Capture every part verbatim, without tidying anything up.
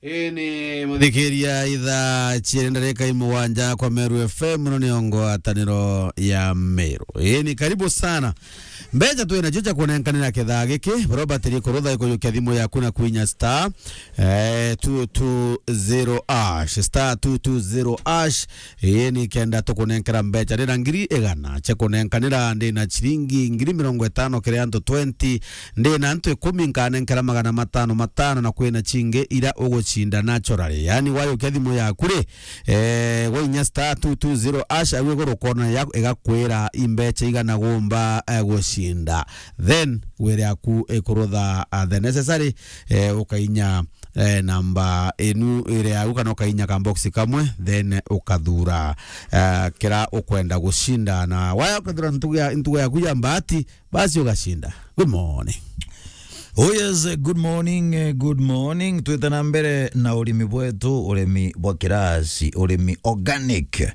Ii ni muthikiria ithaa ciiri ndarika imugwanja kwa Meru F M, muno ni ngwataniro ya Meru. Ii ni karibu sana. Mbeca twina cio cia kunenkanira kithaa giki, Robert Rikurutha ikujukia thimu yaku na kwinya star, eh, two two zero hash, star two two zero hash. Ii ni kenda tukunenkera mbeca. Ndina ngiri igana cia kunenkanira, ndina ciringi ngiri mirongo itano kiri antu twenty, ndina antu ikumi nkanenkera magana matano matano, na kwina cingi ira ugucinda naturally. Yani, wajukia thimu yaku ri, eh, wainya star two two zero hash, au iguru ukona ya-, igakwira imbeca igana gumba, eh, gucinda. Then, wire yaku ikurutha, ah, the necessary, eh, ukainya eh, namba inu iri yau, kana ukainya ka box kamwe, then ukathura, eh, kira ukwenda gucinda, na waya ukathura ntugu ya, ntugu yaku ya mbati, basi ugacinda. Good morning. Oh yes, eh, good morning, eh, good morning. Twite na mbere na urimi bwetu, urimi bwa kirasi, urimi organic.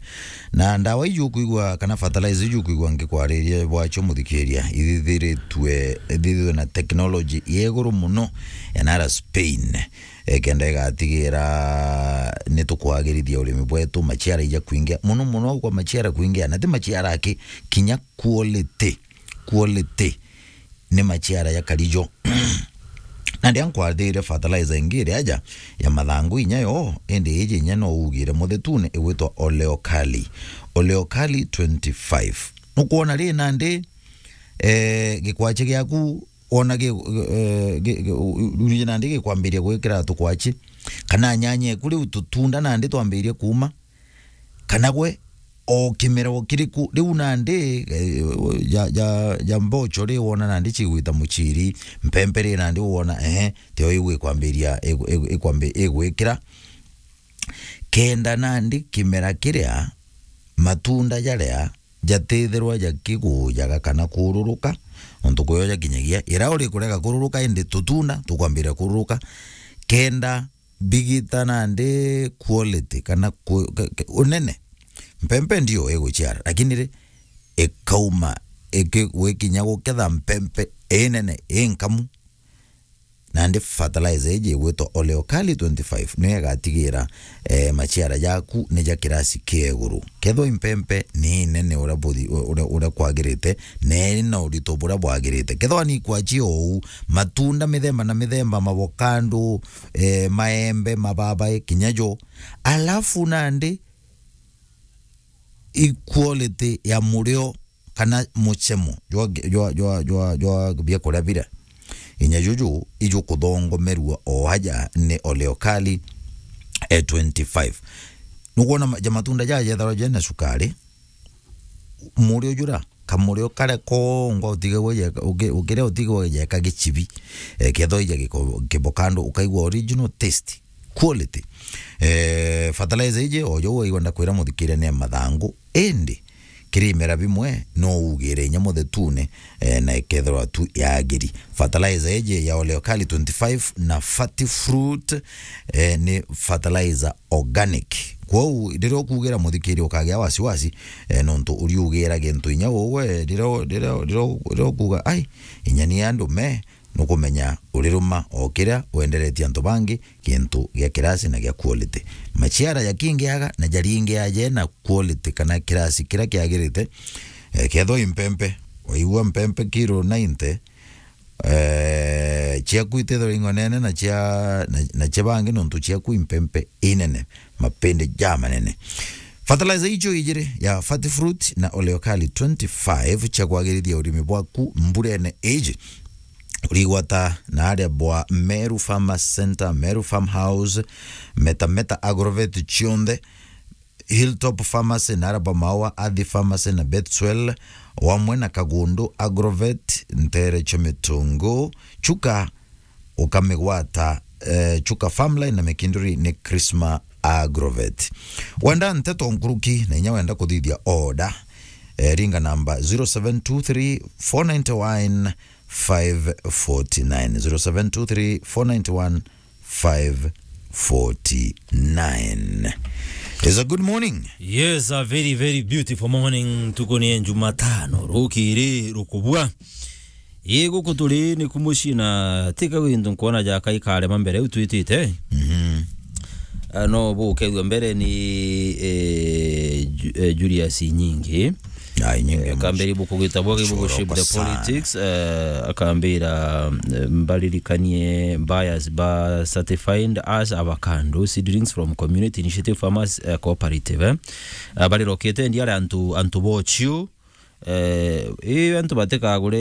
Na ndawa iju ukwigua kana fertilizer iju ukwigua ngikwariria bwacio, muthikiria, ithithiritwe, ithithitwe na technology ya iguru muno ya nara Spain. Eh, kenda igatigira ni tukwagirithia urimi bwetu, maciara ija kwingia. Muno muno kwa maciara kwingia, na ti maciara aki, kinya quality. Quality ni maciara ya karijo. Na ndia nkwathire fertilizer ingi iri aja ya mathangu inya yo, indi iji inya no ugire muthetune, igwitwa Oleokali. Oleokali twenty-five. Nukwona ri nandi, eh, gikwachi giaku wona gi-, eh, gi-, gi-, u-, u-, urije nandi gikwambiria gwikira tukwachi, kana nyanya eku riu tutunda nandi twambirie kuuma, kana gwe o kimera o kiriku riu nandi, eh, ja, ja, ja mbocho ri wona nandi cigwita muchiri, mpempe ri nandi wona, ehe, tio iu ikwambiria, igu-, igu-, ikwambi-, igwikira. Kenda nandi kimera kiria matunda jaria jatithirwa jakigujaga kana kururuka, nontu kwio jakinyagia, ira uri kurega kururuka, indi tutunda tukwambiria kururuka, kenda bigita nandi quality kana ku-, ke-, ke-, unene. Mpempe ndio iguciara, lakini ri, ikauma, iki-, gwikinya guketha mpempe inene, inkamu, nandi fertilizer iji igwitwa Oleokali twenty-five niyo igatigira, eh, maciara jaku ni ja kirasi kia iguru. Kethwa impempe ni inene uria buthi-, uria, uria kwagirite, na iri na urito buria bwagirite. Kethwa ni ikwachi ou, matunda mithemba na mithemba, mavokando, eh, maembe, mababae, kinya jo. Alafu nandi equality ya murio kana muchemo jwa, jwa, jwa, jwa, jwa biakuria biria, inya juju ijukuthongomerua o aja ni Oleokali, eh, twenty-five. Nukwona ma-, ja matunda jaja jetharwa jena cukari, murio jura, kamurio karia kongwa utigagwa jeka, uki-, ukiria utigagwa jeka gichibi, eh, kethwa ija giko-, kibokando, ukaigua original taste. Quality. Eh, fertilizer iji, o jou waigua ndakwira muthikiria ni ya mathangu, indi kiri imera bimwe no ugire inya muthetune, eh, na ikethirwa tu yagiri. Fertilizer iji ya Oleokali twenty-five na Fati Fruit, eh, ni fertilizer organic. Kwou riria ukugira muthikiria ukagia wasiwasi, eh, nontu uriugira gintu inya ugwe, riria, riria, riria, riria ukuga, "Ai, inya ni andu me," nukumenya uriruma o kiria wenderetie antu bangi, gintu gia kirasi na gia quality. Maciara jakingiaga na jaringiaje na quality kana kirasi kiria kiagirite. Eh, kethwa impempe, waigua mpempe kiro ninety, eh, ciaku itithirwa ing'onene na cia, na, na cia bangi, nontu ciaku impempe inene, mapindi jamanene. Fertilizer icio ijiri ya Fati Fruit na Oleokali twenty-five cia kwagirithia urimi bwaku mburene iji. Urigwata na aria bwa Meru Farmers Center, Meru Farmhouse, Meta Meta Agrovet cionthe, Hilltop Pharmacy na aria bwa Maua Athi Pharmacy na Betswell, wamwe na Kagundu Agrovet, ntere cia Mitungu, Chuka, ukamigwata, eh, Chuka Farmline na Mikinduri ni Krisma Agrovet. Wenda nteto nkuruki na inya wenda kuthithia order, eh, ringa namba zero seven two three four nine one five forty nine, zero seven two three four nine one five forty nine. It's a good morning. Yes, a very, very beautiful morning. Tuko ni Jumatano, rukiri rukubua. Ii, guku turi ni ku mucii na tika wintu nkwona jaka ikarema mbere u twitite. Mhm. Ah, no bukethua mbere ni, eh, Ju-, eh, Julius Inyingi. Ai, Inyingi. Eh, akambira ibuku gitabu, ibuku Shape the Politics, eh, akambira, eh, mbaririkanie buyers ba certified as avocado seedlings from community initiative farmers, eh, cooperative, eh. Ah, barirokete ndi ari antu, antu bochiu, eh, ii antu batikagure,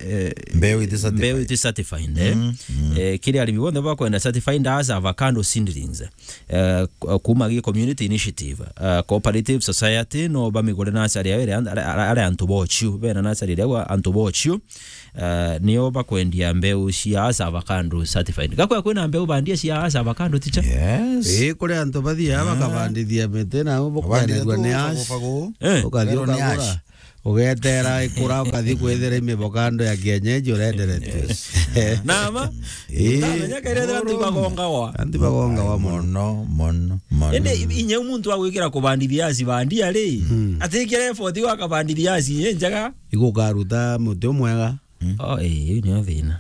eh, mbeu iti certified. Mbeu iti certified, eh. Mm, mm. Eh, kiri arimi bonthe bakwenda certified as avocado seedlings, eh, ku-, kuma gi community initiative, eh, cooperative society, no bamigure nasari yao iri an-, ari, ari, ari antu bochiu, bena nasari iria gwa antu bochiu, eh, nio bakwendia mbeu cia as avocado certified. Gakwea kwina mbeu bandia cia as avocado, ticha? Yes. Ii, kuri antu bathiaga bakabandithia miti na bukwenderua ni as. Eh. Ukathi ukagura. Ugetera ikura, ukathi kwithira imivokando ya kienyeji urenderetue. Yes. Nama? Ii. Ndamenya kairethera antu ibagongawa. Antu ibagongawa mono. Mono, mono, mono. Indi i-, inya muntu wa gwikira kubandithia asi bandia ri, mm, atikire effort wa kabandithia asi inye njega. Igukaruta muti umwega. Mm. Oh, eh, iu niyo thina.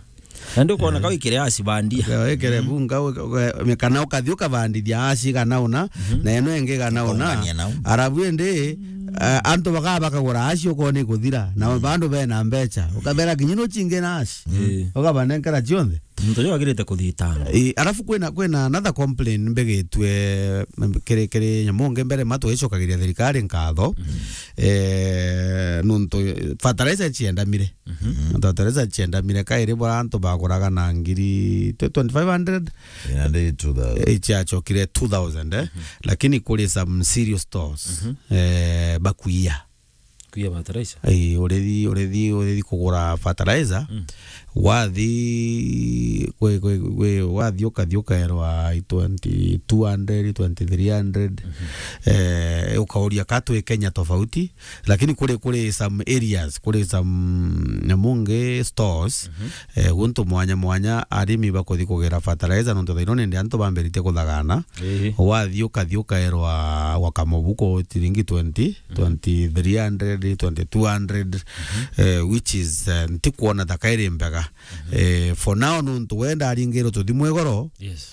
Na ndu kwona, eh, kau ikire asi bandia. Wikire, mm, bunga, uka-, uka-, kana ukathi ukabandithia asi kana una, mhm, na ino ingi kana una. Ukaungania nau. Arabu indi, eh, antu bakaba bakagura asi ukona ikuthira. Na, mm, bandu bena mbecha. Ukabera kinya no chingi na asi. Mm. Ukabanenkera chionthe. Muntu uyu agirite kuthitanga. Eh, arafu kwina, kwina another complaint mbigitue, kiri, kiri nyamu ngi mbere ma twicokagiria thirikari nkatho. Mm. Eh, nuntu fertilizer chiendamire. Mhm. Nontu Teresa chiendamire kairi bora antu baguraga na ngiri twenty-five hundred. Inandiri two thousand. Eh, chiachokire two thousand, eh. Mhm. Lakini kuri some serious stores, mhm, eh, bakuia. Kuia fertilizer? Eh, urithi, urithi, urithi kugura fertilizer. Mm. Wathi, kwe, kwe, kwe, wathi ukathi ukaerwa i twenty-two hundred, twenty-three hundred. Mhm. Eh, ukauria ka twi Kenya tofauti. Lakini kuri, kuri some areas, kuri some nyamu ngi stores, mhm, eh, guntu mwanya mwanya arimi bakuthi kugira fertilizer, nontu thaino nindi antu bambiritie kuthagana. Ii. Wathi ukathi ukaerwa gwa kamubuko ciringi twenty, mhm, twenty-three hundred, twenty-two hundred, mhm, eh, which is, eh, ntikwona thaka iri mbega. Mhm. Eh, for now, nontu we ndaringirwe tuthimu igoro, yes,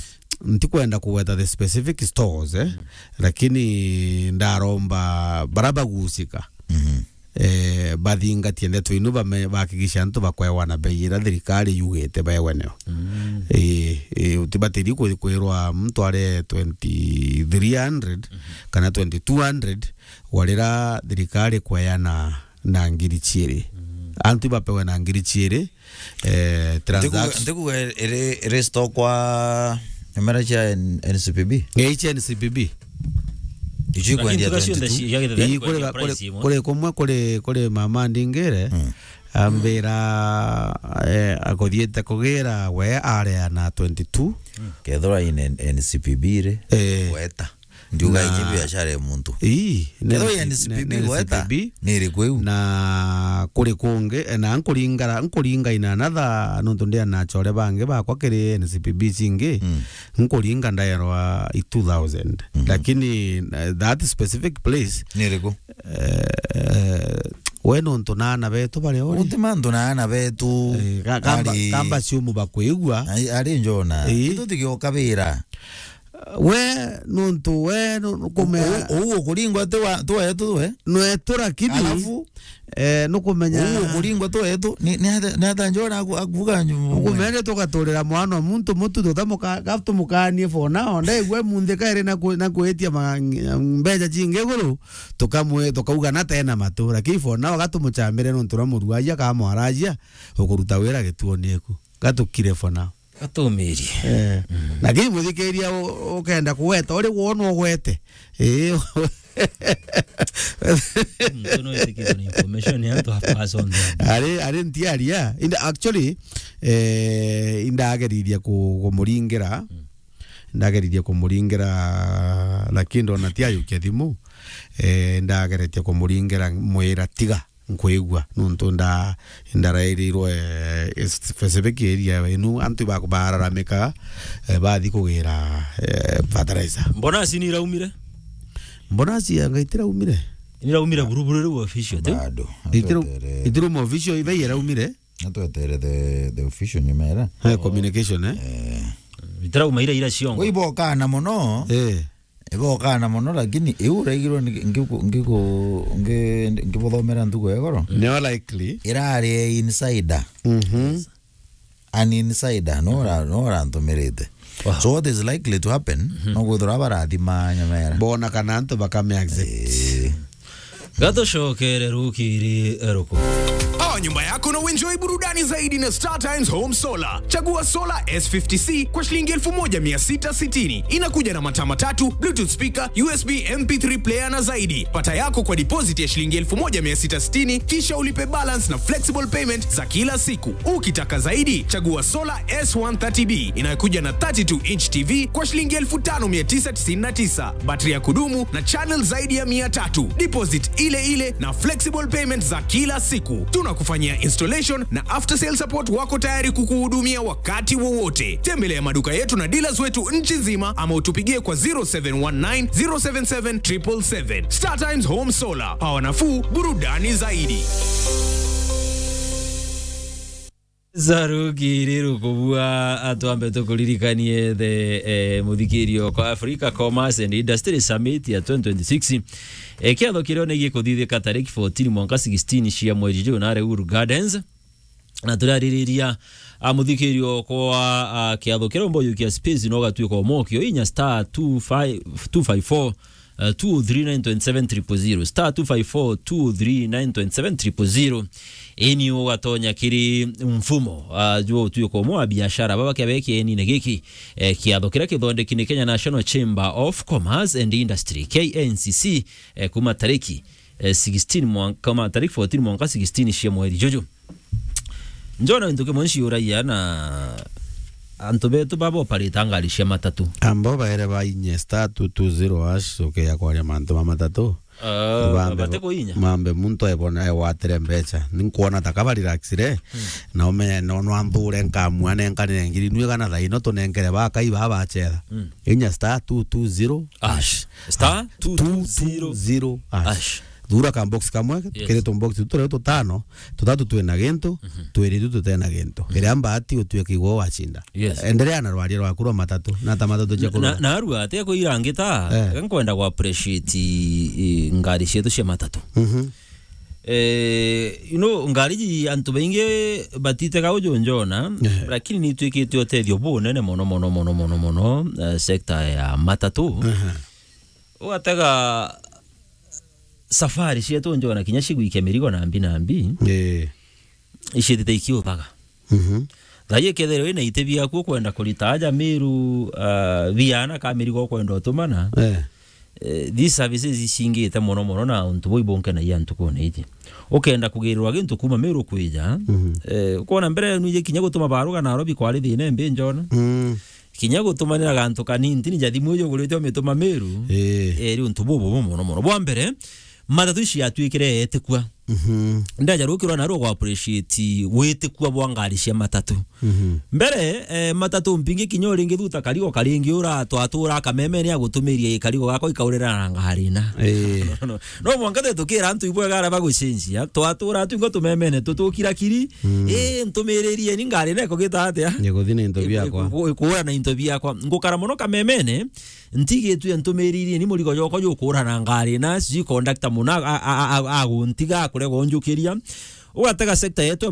ntikwenda kugweta the specific stores, eh, mm, lakini ndaromba bara bagusika, mhm, eh, bathingatie ndeto inu, bame-, bahakikisha antu bakwewa na bei ira thirikari yugite bewe nio. Mm. Eh, eh, utibatiri kwi-, kwirwa muntu are twenty-three hundred, mhm, kana twenty-two hundred, warira thirikari kweana na ngiri chiiri. Mm. Antu bapewe na ngiri chiiri, eh, transaction. Ndikuga iri, iri store kwa imera cia N-, N C P B? Ngei cia N C P B. Icio ikwendia twenty-two. Ii, kuri, kuri, kuri kumwe, kuri, kuri mama ndingire, mm, ambira, eh, akuthiite kugira we areana twenty-two. Mm. Kethirwa ine N C P B ri, eh, gweta. Ndiuga inyi biashara ya muntu. Ii, kethirwa N C P B gweta, ni iriku iu? Na kuri kungi, eh, na nkuringara, nkuringa in another, nontu ndi na achore bangi bakwa kiri N C P B cingi, mm, nkuringa ndaerwa i two thousand. Mhm. Lakini, eh, that specific place, ni iriku? Eh, we nontu na ana betu baria uri. Uti mantu na ana betu. Eh, ka-, kamba, ari, kamba ciumu bakwigua. Ari, ari njona. Ii. Itu tigioka bira. We, nontu we, nu-, nukumea u-, u-, ukuringwa ti wa, ti wetu we? Nwetu, lakini, alafu, eh, nukumenya u-, ukuringwa ti wetu, ni, ni ata, ni ata njora aku-, akuvuga nyu-, nukumenya tugaturira mwana wa muntu mutu, tutamuka-, ga-, tumukanie for now. Ndaigua munthi kairi na ku-, na kwitia ma-, mbeca cingi iguru, tukamwe-, tukauga na tena matu. Lakini for now, gatumuchamire nontu na muruaia kamwarajia, ukuruta wira gituoni eku. Gatukire for now. Gatumirie. Eh. Mm. Lakini muthikiria u-, ukenda kuweta, uri wonwa ugwete. Eh. Muntu no itikirwe ni information ya antu a person. Ari, ari ntiaria. Inda, actually, eh, indageririe ku-, kumuringira. Mm. Ndageririe kumuringira, lakini ndona ti ayukia thimu. Eh, ndageretie kumuringira mwira tiga. Nkwigua, nontu nda-, ndarairirwe, eh, specific area inu, antu baku bararamika, eh, bathi kugira, eh, fertilizer. Mbonasi ni iraumire? Mbonasi yanga itiraumire. Ni iraumire buruburu riu official, tu? Bado. Itiru-, itiru mo official, ibe iraumire? Atwetere the, the official nyuma era. Eh, communication, eh? Eh. Itirauma ira ira ciongo. Ibokaa na mono. Eh. Ibokaa na mono, lakini iu uraigirwe ni ngiku-, ngiku-, ngi-, ngibuthomera ntuku ya igoro. Nio likely. Irari insider. Mhm. An insider, no ra-, no rantumirite. Wow. So what is likely to happen? Mhm. No kwithirwa barathima nyamera. Bona kana antu bakame accept. Eh. Gatucokere rukiri ruku. Power nyumba yako na uenjoy burudani zaidi na Star Times Home Solar. Chagua solar S fifty C kwa shilingi elfu moja mia sita sitini. Inakuja na mataa matatu, Bluetooth speaker, U S B M P three player na zaidi. Pata yako kwa deposit ya shilingi elfu moja mia sita sitini, kisha ulipe balance na flexible payment za kila siku. Ukitaka zaidi, chagua solar S one thirty B inayokuja na thirty-two inch T V kwa shilingi elfu tano mia tisa tisini na tisa, battery ya kudumu na channel zaidi ya mia tatu. Deposit ile ile na flexible payment za kila siku. Tunakufanyia installation na after sale support, wako tayari kukuhudumia wakati wowote. Tembelea maduka yetu na dealers wetu nchi nzima ama utupigie kwa zero seven one nine, zero seven seven, triple seven. Star Times Home Solar. Power nafuu, burudani zaidi. Za rukiri rukubua, atwambe tukuririkanie the, eh, muthikirio kwa Africa Commerce and Industry Summit ya twenty twenty-six. Eh, kiatho kiria ni gikuthithika tariki fourteen mwanka sixteen cia mweri June, are Uhuru Gardens. Na turaririria, ah, muthikirio kwa, ah, kiatho kiria umba ujukia space no gatwika omokio inya star two five, two five four, eh, two three nine twenty seven triple zero, star two five four, two three nine twenty seven triple zero. Eni ugatonya kiri mfumo, ah, jwa utuiko umwe wa biashara baba kia beki eni na giki, eh, kiatho kiria kithondeki ni Kenya National Chamber of Commerce and Industry, K N C C, eh, kuma tariki, eh, sixteen mwan-, kuma tariki fourteen mwanka sixteen cia mweri juju. Njona gintu kimwe nciuragia na antu betu baba operate ngari cia matatu. Amba baere bainye star two two zero hash, ukeya kwaria mantu ma matatu. Ah, bambe bate kuinya. Mambe muntu ebona egwatire mbeca. Ninkwona ta kaba relaxire. Hmm. Na umenye no, no anthure nkamua nenkanire ngiri nwe kana thaino tunenkere bakai baba bacetha. Hmm. Inya star two two zero hash. Star two two zero hash. Thura ka box kamwe, yes, tukiri tu box tu turi tutano, tutatu twina gintu, mhm, twiri tu tutena gintu. Mhm. Iria mbati utuike igwe wacinda. Yes. Endelea na rwaria rwaku rwa matatu, na ta matatu cia na, kurura. Na, na arua, ati akwira angita, eh, nkwenda ku appreciate, eh, ngari cietu cia matatu. Mhm. Eh, you know, ngari ji antu baingi batitega uju njona, eh, lakini ni itwikite utethio bunene mono, mono, mono, mono, mono, eh, sector ya matatu. Aha. Ugatega safari cietu njona kinya cigwikia mirigo nambi nambi, eh, iciitite ikiuthaga. Mhm. Thaai ikethirwa ina iti biaku ukwenda kurita aja Miru, ah, biana ka mirigo ukwenda utumana, eh, eh, these services icingite mono mono na untu buu ibunkenagia ntukune iji. Ukenda kugirirwa gintu kuma Miru kwija, mhm, eh, ukwona mbere nwiji kinya gutuma baruga Nairobi kwari thina imbi njona. Mm. Kinya gutumanira gantu kanini, ntini ja thimu iji ugurite umituma Miru, eh, eri untu bububu mono mono. Bwa mbere, matatu ici yatwikire etikua. Mhm. Ndaja rukirwa narua gwa appreciate witikua bwa ngari cia matatu. Mhm. Mbere, eh, matatu mpingi kinya uringi thuta karigo karingi ura twatura kamemene agutumirie karigo gakwa ikaurira na ngari na. Eh. No, no, no. No mwanka te tukira antu ibwega ara bagucenjia, twatura tu ingo tumemene tutukira kiri. Mm. Eh, ntumiririe ni ngari na ikugita atia? Nikuthi na into biakwa. Iku-, iku-, ikura na into biakwa. Ngukara mono kamemene, ntigitue ntumiririe ni murigo joko jukura na ngari na, sijui conductor muna a, a, a, a, aguntiga akurega unjukiria. Ugatega sector yetu